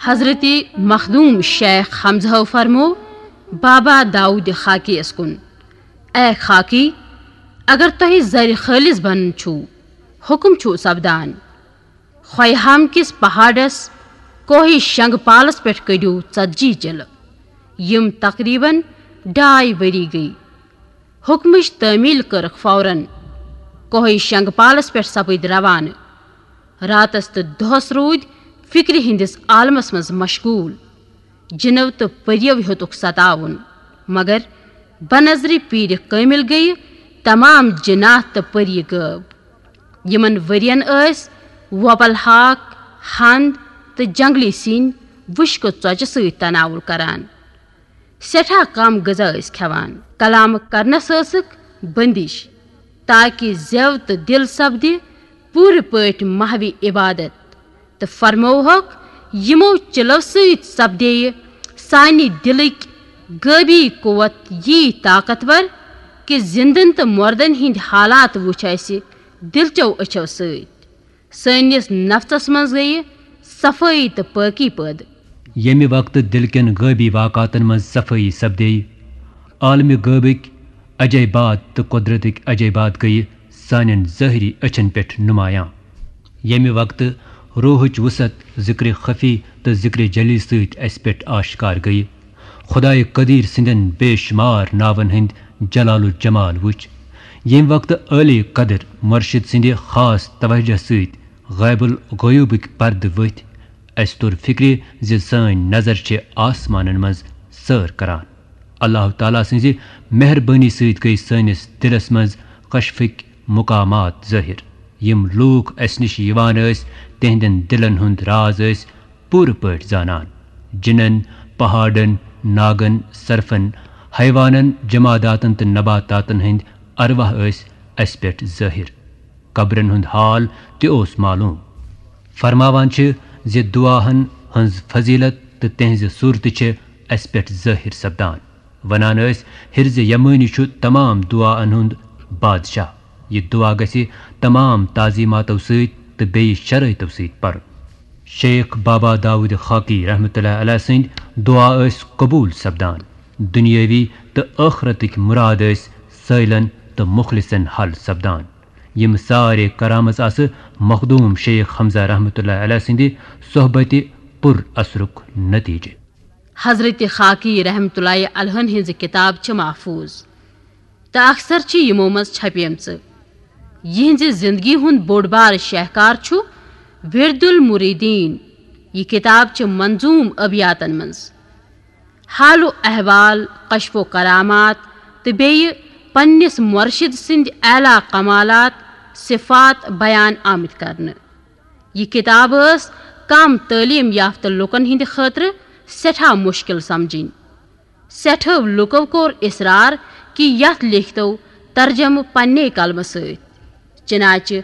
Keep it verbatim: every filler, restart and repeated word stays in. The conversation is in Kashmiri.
حضرت مخدوم شیخ حمزہ فرمو بابا داؤد خاکی یس کن، اے خاکی، اگر تۄہہِ زرِ خٲلص بنُن چھُو، حکم چھُو سپدان، خویہام کِس پہاڑس کوہی شنگ پالس پٮ۪ٹھ کٔڑِو ژتجی چلہٕ، یِم تقریباً ڈاے ؤری گٔیہِ۔ حکمٕچ تعمیل کٔرٕکھ فوراً۔ کوہی شنگ پالس پٮ۪ٹھ سپٕدۍ روانہٕ۔ راتس تہٕ دۄہس روٗدۍ فکرِ ہٕنٛدِس عالمس منٛز مشغول۔ جِنو تہٕ پٔرِیو ہیوٚتُکھ ستاوُن، مگر بنظرِ پیٖرِ کٲمِل گٔیہِ تمام جِنات تہٕ پٔری غٲب۔ یِمن ؤرین ٲسۍ وۄپل ہاک، ہند تہٕ جنگلی سِنۍ وُشکہٕ ژۄچہِ سۭتۍ تناول کران۔ سٮ۪ٹھاہ کم غذا ٲسۍ کھٮ۪وان۔ کلام کرنس ٲسٕکھ بندش، تاکہ زٮ۪و تہٕ دِل سپدِ پوٗرٕ پٲٹھۍ محوِ عبادت۔ تہٕ فرمووہکھ، یِمو چِلو سۭتۍ سپدییہِ سانہِ دِلٕکۍ غٲبی قوت یی طاقتور، کہِ زِندن تہٕ مردن ہٕنٛدۍ حالات وُچھ اسہِ دِلچو أچھو سۭتۍ۔ سٲنِس نفسس منٛز گٔیہِ صفٲیی تہٕ پٲکی پٲدٕ۔ ییٚمہِ وقتہٕ دِل کٮ۪ن غٲبی واقعاتن منٛز صفٲیی سپدییہِ، عالمِ غٲبٕکۍ عجٲیبات تہٕ قۄدرتٕکۍ عجٲیبات گٔیہِ سانٮ۪ن ظٲہری أچھن پٮ۪ٹھ نمایاں۔ ییٚمہِ وقتہٕ روحٕچ وُسعت ذِکرِ خفی تہٕ ذِکرِ جلی سۭتۍ اسہِ پٮ۪ٹھ آشکار گٔیہِ، خۄدایہِ قدیٖر سٕنٛدٮ۪ن بے شُمار ناون ہٕنٛدۍ جلال و جمال وُچھ۔ ییٚمہِ وقتہٕ عٲلی قدر مرشد سٕنٛدِ خاص توجہ سۭتۍ غیب الغیوبٕکۍ پردٕ ؤتھۍ، اسہِ توٚر فِکرِ زِ سٲنۍ نظر چھِ آسمانن منٛز سٲر کران۔ اللہ تعالیٰ سٕنٛزِ مہربٲنی سۭتۍ گٔیہِ سٲنِس دِلس منٛز کشفٕکۍ مقامات ظٲہِر۔ یِم لوٗکھ اسہِ نِش یِوان ٲسۍ، تِہنٛدٮ۪ن دِلن ہُنٛد راز ٲسۍ پوٗرٕ پٲٹھۍ زانان۔ جِنن، پہاڑن، ناگن، سرفن، حیوانن، جماداتن تہٕ نباتاتن ہٕنٛدۍ ارواح ٲسۍ اسہِ پٮ۪ٹھ ظٲہِر۔ قبرن ہُنٛد حال تہِ اوس معلوم۔ فرماوان چھِ زِ دعاہن ہٕنٛز فضیلت تہٕ تِہنٛزِ صورتہٕ چھِ اسہِ پٮ۪ٹھ ظٲہِر سپدان۔ ونان ٲسۍ، حرزِ یمٲنی چھُ تمام دعاہن ہُنٛد بادشاہ۔ یہِ دعا گژھِ تمام تعظیماتو سۭتۍ تہٕ بیٚیہِ شرٲیطو سۭتۍ پرُن۔ شیخ بابا داؤد خاکی رحمتہ اللہ علیہ سٕنٛدۍ دعا ٲسۍ قبول سپدان۔ دنیٲوی تہٕ ٲخرتٕکۍ مُراد ٲسۍ سٲیلن تہٕ مخلصن حل سپدان۔ یِم سارے کرامژ آسہٕ مخدوم شیخ حمزہ رحمتہ اللہ علیہ سٕنٛدِ صحبتِ پُر اثرُک نتیجہٕ۔ حضرت خاکی رحمتہ اللہ علیہ ہٕنٛز کتاب چھِ محفوظ تہٕ اکثر چھِ یِمو منٛز چھپیمژٕ۔ یِہنٛزِ زندگی ہُنٛد بوٚڑ بار شہکار چھُ ورد المریدین۔ یہِ کتاب چھِ منظوم ابیاتن منٛز حال و احوال، کشف و کرامات تہٕ بیٚیہِ پننِس مرشد سٕنٛدۍ اعلیٰ کمالات، صفات بیان آمٕتۍ کرنہٕ۔ یہِ کتاب ٲس کم تعلیٖم یافتہٕ لوٗکن ہٕنٛدِ خٲطرٕ سٮ۪ٹھاہ مُشکِل سمجھٕنۍ۔ سٮ۪ٹھاہ لوٗکو کوٚر اصرار کہِ یتھ لیکھتو ترجمہٕ پننے قلمہٕ سۭتۍ۔ چنانچہ